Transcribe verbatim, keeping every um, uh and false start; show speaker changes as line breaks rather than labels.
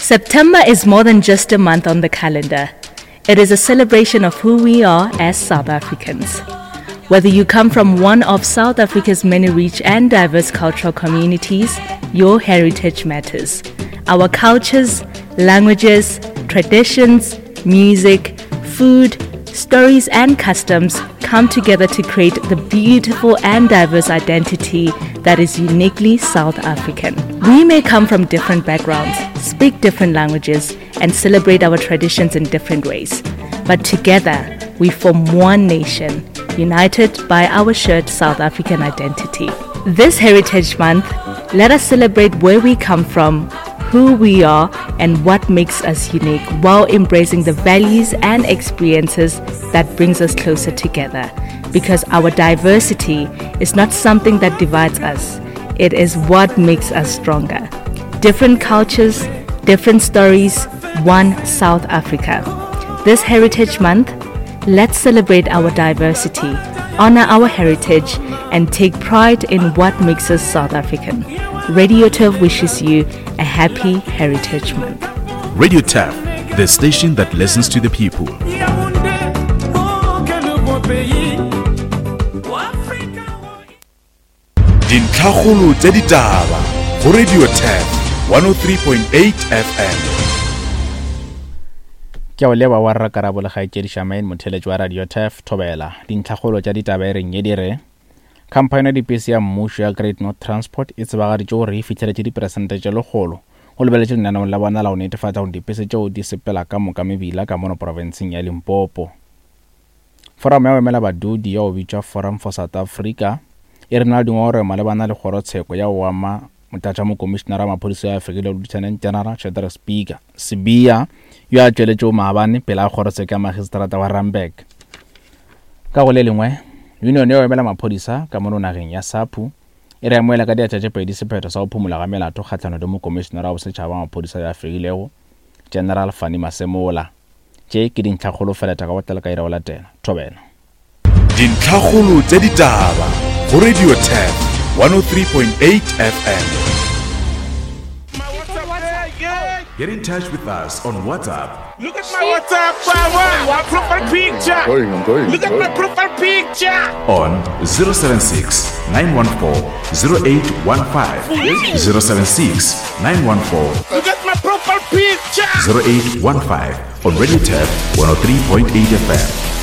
September is more than just a month on the calendar. It is a celebration of who we are as South Africans. Whether you come from one of South Africa's many rich and diverse cultural communities, your heritage matters. Our cultures, languages, traditions, music, food, stories, and customs come together to create the beautiful and diverse identity that is uniquely South African. We may come from different backgrounds, speak different languages, and celebrate our traditions in different ways. But together, we form one nation, united by our shared South African identity. This Heritage Month, let us celebrate where we come from, who we are, and what makes us unique while embracing the values and experiences that brings us closer together. Because our diversity is not something that divides us, it is what makes us stronger. Different cultures, different stories, one South Africa. This Heritage Month, let's celebrate our diversity, honor our heritage, and take pride in what makes us South African. Radio Turf wishes you a happy Heritage Month.
Radio Turf, the station that listens to the people. Dintlhakgolo tša ditaba go Radio Turf one oh three point eight F M.
Ke a o leba wa rra Karabo le kgaetšedi Shamaine, motheletši wa Radio Turf Thobela. Dintlhakgolo tša ditaba e reng e di re khamphani ya dipese ya mmušo ya Great North Transport e tsebagaditše gore e fihleletše diperesente tše lekgolo go lebeletše lenaneong la bona la go netefatša gore dipese tšeo di sepela ka moka mebila ka mono profenseng ya Limpopo. Forum ya go emela badudi ya go bitšwa Forum for South Africa e re na le dingongorego malebana le kgorotsheko ya go ama motlatšamokomišenara wa maphodisa ya Afrika Lieutenant General Shadrack Speaker Sibiya yo a tšweletšego maabane pele ga kgorotsheko ya magistrata wa Randburg. Ka go le lengwe, union ya go emela maphodisa ka mono nageng ya SAPU e re amoela ka diatla tše pedi sephetho sa go phumola ga melato kgahlano le mokomišenara wa bosetšhaba wa maphodisa ya fegilego General Fannie Masemola. Tše ke dintlhakgolo feleta ka botlalo ka ira go latela. Thobela.
Dintlhakgolo tša ditaba go Radio Turf one oh three point eight F M. Get in touch with us on WhatsApp.
Look at my WhatsApp, power. My profile picture.
I'm going, I'm going,
Look at
I'm
my
going.
profile picture.
On zero seven six, nine one four, zero eight one five. zero seven six, nine one four.
Look at my profile picture.
zero eight one five on Radio Turf one oh three point eight F M.